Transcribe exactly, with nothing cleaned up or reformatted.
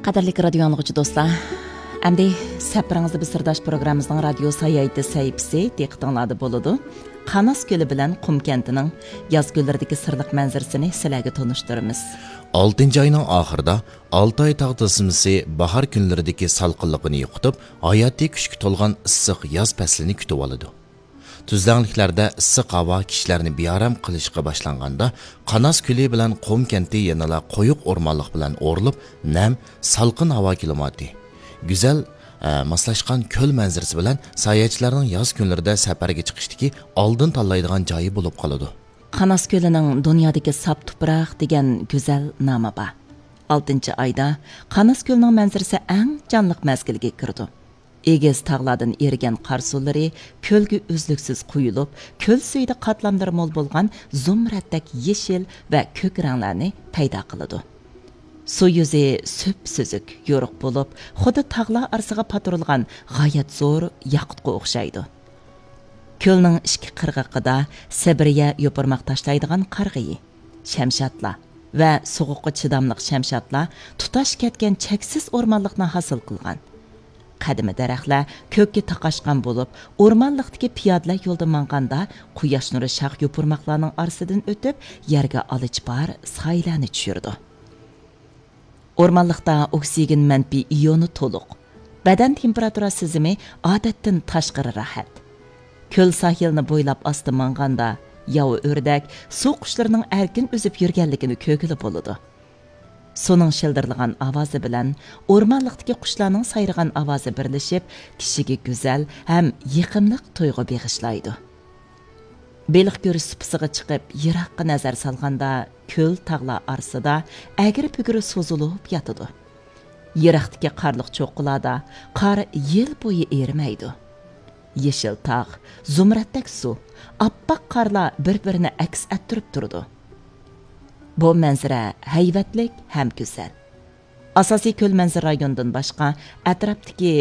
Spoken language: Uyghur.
قەدىرلىك رادىيو ئاڭلىغۇچى دوستلار، ئەمدى سەپىرىڭىزدە بىر سىرداش پروگراممىمىزنىڭ رادىيو ساياھىتى سەھىپىسى دىققىتىڭلاردا بولىدۇ. قاناس كۆلى بىلەن قۇم كەنتىنىڭ ياز كۈنلىرىدىكى سىرلىق مەنزىرىسىنى سىلەرگە تونۇشتۇرىمىز. ئالتىنچى ئاينىڭ ئاخىرىدا ئالتاي تاغ تىزمىسى باھار كۈنلىرىدىكى سالقىنلىقىنى يوقىتىپ، ھاياتىي كۈچكە تولغان ئىسسىق ياز پەسلىنى كۈتۈۋالىدۇ. تۈزلەڭلىكلەردە ئىسسىق ھاۋا كىشىلەرنى بىئارام قىلىشقا باشلانغاندا، قاناس كۆلى بىلەن قۇم كەنتى يەنىلا قويۇق ئورمانلىق بىلەن ئورۇلۇپ، نەم، سالقىن ھاۋا كىلىماتى، گۈزەل، ئە، ماسلاشقان كۆل مەنزىرىسى بىلەن ساياھەتچىلەرنىڭ ياز كۈنلىرىدە سەپەرگە چىقىشتىكى ئالدىن تاللايدىغان جايى بولۇپ قالىدۇ. قاناس كۆلىنىڭ دۇنيادىكى ساپ تۇپراق دېگەن گۈزەل نامى بار. ئالتىنچى ئايدا قاناس كۆلىنىڭ مەنزىرىسى ئەڭ جانلىق مەزگىلگە كىرىدۇ. ئېگىز تاغلاردىن ئېرىگەن قار سۇلىرى كۆلگە ئۈزلۈكسىز قۇيۇلۇپ، كۆل سۈيىدە قاتلاملىرى مول بولغان زۇمرەتتەك يېشىل ۋە كۆك رەڭلەرنى پەيدا قىلىدۇ. سۇ يۈزى سۈپسۈزۈك، يورۇق بولۇپ، خۇددى تاغلار ئارىسىغا پاتۇرۇلغان غايەت زور ياقۇتقا ئوخشايدۇ. كۆلنىڭ ئىككى قىرغىقىدا سىبىرىيە يوپۇرماق تاشلايدىغان قارىغىيى، شەمشادلار ۋە سوغۇققا چىداملىق شەمشادلار تۇتاش كەتكەن چەكسىز ئورمانلىقنى ھاسىل قىلغان. قەدىمىي دەرەخلەر كۆككە تاقاشقان بولۇپ، ئورمانلىقتىكى پىيادىلەر يولدا ماڭغاندا، قۇياش نۇرى شاخ يوپۇرماقلارنىڭ ئارىسىدىن ئۆتۈپ، يەرگە ئالىچپار سايىلەرنى چۈشۈرىدۇ. ئورمانلىقتا ئوكسىگېن مەنپىي ئىيونى تولۇق. بەدەن تېمپېراتۇرا سىزىمى ئادەتتىن تاشقىرى راھەت. كۆل ساھىلىنى بويلاپ ئاستا ماڭغاندا، ياۋا ئۆردەك، سۇ قۇشلىرىنىڭ ئەركىن ئۈزۈپ يۈرگەنلىكىنى كۆرگىلى بولىدۇ. سۇنىڭ شىلدىرلىغان ئاۋازى بىلەن ئورمانلىقتىكى قۇشلارنىڭ سايرىغان ئاۋازى بىرلىشىپ، كىشىگە گۈزەل ھەم يېقىملىق تۇيغۇ بېغىشلايدۇ. بېلىق كۆرۈش سۇپىسىغا چىقىپ، يىراققا نەزەر سالغاندا، كۆل تاغلار ئارىسىدا ئەگرى-بۈگرى سوزۇلۇپ ياتىدۇ. يىراقتىكى قارلىق چوققىلاردا قار يىل بويى ئېرىمەيدۇ. يېشىل تاغ، زۇمرەتتەك سۇ، ئاپئاق قارلار بىر-بىرىنى ئەكس ئەتتۈرۈپ تۇرىدۇ. بۇ مەنزىرە ھەيۋەتلىك ھەم گۈزەل. ئاساسىي كۆل مەنزىرە رايونىدىن باشقا، ئەتراپتىكى